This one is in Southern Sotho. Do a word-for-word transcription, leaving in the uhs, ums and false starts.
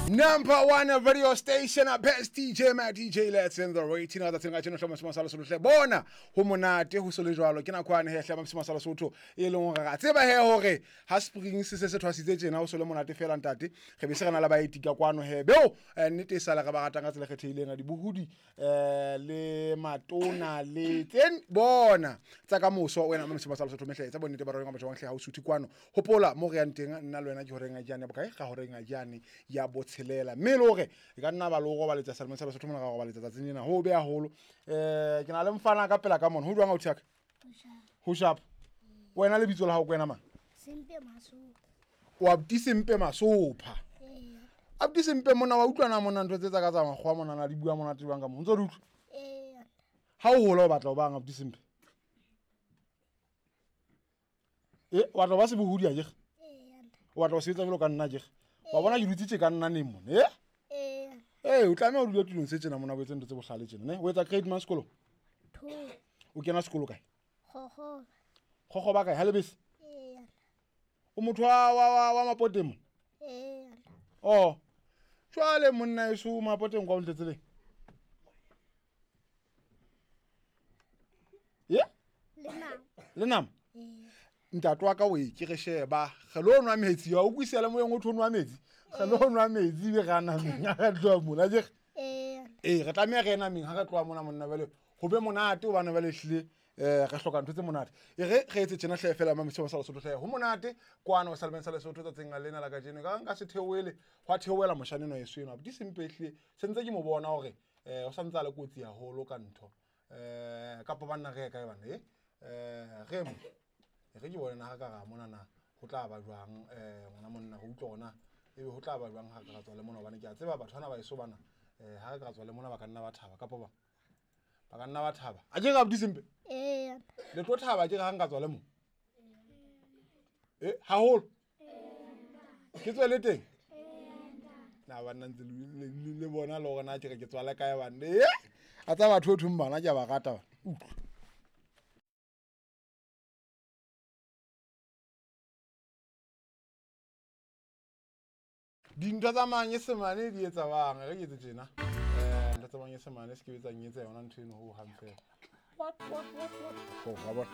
Number one radio station, best D J, my D J, let's in the rating. Other thing I know, Masala Sotho. Bona, ho monate ho sole jwalo. Ke nako ane he hle Masala Sotho e leng hore ra tseba he hore ha spring se se se thwasitse tjena ho sole monate fela ntate. Re be se re na le baeti ka kwano he. Beo nnete e sala re ba ratang ka tsela kgethehileng a dibohudi eh le matona le tsen bona tsa ka moso wena Masala Sotho mehle tsa bonnete ba rona ba jwang hle ha o suthe kwano. Hopola mo re yang teng nna le wena ke horeng a jane bokae ga horeng a jane ya botshelela. Mme le hore e ka nna ba le ho robaletsa Salmon sa Lesotho mona ka robaletsa tsatsing lena ho be haholo. Eh ke na le mfana ka pela ka mona ho jwang o thiaka ho sharp wena le bitso la hao ke wena mang? Sempe Masopha. O abuti Sempe Masopha. Abuti Sempe mona wa utlwana mona ntho tse tsa ka tsa makgowa mona na di bua mona tebang ka mo ntso di utlwa. Eh. Ha o hola o batla o bang abuti Sempe? Eh wa tla ba se bohudi a jege? Eh. O batla o sebetsa jwalo ka nna jege? Wa bona ke dutse tje ka nna neng mona eh? Eh. Eh o tlameha o dule tulong se tjena mona o etse ntho tse bohlale tjena ne? O etsa grade mang sekolong? Two. O kena sekolo kae? Gogoba. Gogoba kae? Ha Lebese? Eh. O motho wa wa wa Mapoteng mo? Eh. Oh. Jwale monna eso Mapoteng kwa o ntletseleng? Ye? Le nama. Le nama? Eh. Ntate wa ka o e ke re sheba re lo nwa metsi wa utlwisela le moyeng o tho nwa metsi re lo nwa metsi be ra nameng ha re tloha mona je eh eh re tlameha re nameng ha re tloha mona monna bale ho be monate hobane bale hlile eh re hloka ntho tse monate e re re etse tjena hle fela Mamisa sa Lesotho hle ho monate kwana o Salmon sa Lesotho tsatsing la lena la kajeno ka nka se theoele hwa theoela moshane no yeso eno abuti Sempe hlile sentse ke mo bona hore eh o santse a le kotsi haholo ka ntho eh kapa banna re kae bana eh eh re mo re ke bona ha ka ra mona na ho tla ba jwang eh ngwana monna ho utlwa ona ebe ho tla ba jwang ha ka tswa le mona hobane ke a tseba batho bana ba eso bana eh ha ka tswa le mona ba ka nna ba thaba kapa ba ba ka nna ba thaba a ke ga abuti Sempe eh le tlo thaba ke ga nka tswa le mo eh haholo ke tswe le teng na ba nna ntse le bona le hore na ke re ke tswa le kae bana eh a tsa batho thong bana ke a ba rata bana utlwa. Dintho tsa manyesemane di etsa bang re ke etse tjena eh ntho tsa manyesemane se ke etsang etse yona ntho eno ho hang fela. What what what what ho ga bona